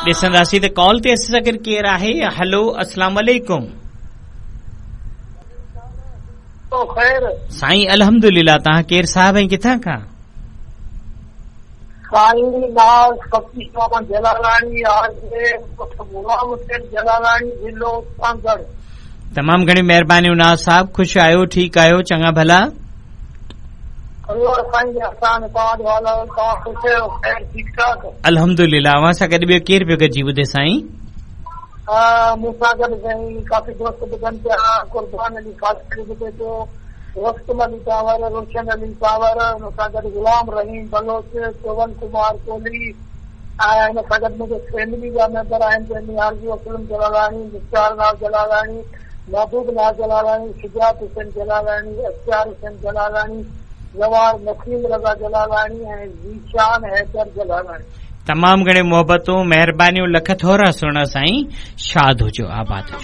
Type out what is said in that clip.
ڏسنداسين ته ڪال تي اسان سان گڏ ڪير آهي. هلو اسلام عليڪم. خير سائين الحمدلله توهان ڪير صاحب ۽ ڪٿان کان؟ سائين ناز فقير محمد جلالاڻي آهي ڳوٺ غلام حسين جلالاڻي ضلعو سانگهڙ. تمام گهڻيون مهربانيون ناز صاحب خوش آهيو ٺيڪ آهيو چڱا ڀلا؟ الله سائين جي احسان توهان جو حال احوال توهان خوش آهيو خير ٺيڪ ٺاڪ. الحمدلله اوهان سان گڏ ٻيو ڪير پيو گڏجي ٻڌي سائين؟ مون سان گڏ سائين ڪافي دوست ٻڌن پيا قربان علي خاصخيلي ٻڌي پيو رستم علي ڪانور روشن علي ڪانور ان سان گڏ غلام رحيم بلوچ چون ڪمار ڪولهي ۽ ان سان گڏ منهنجي فيملي جا ميمبر آهن جنهن ۾ آرزو اسلم جلالاڻي مختيار ناز جلالاڻي محبوب ناز جلالاڻي شجاعت حسين جلالاڻي اختيار حسين جلالاڻي زوار نسيم رضا جلالاڻي ۽ ذيشان حيدر جلالاڻي. تمام گهڻيون محبتون مهربانيون لک ٿورا سهڻا سائين شاد هجو آباد هجو.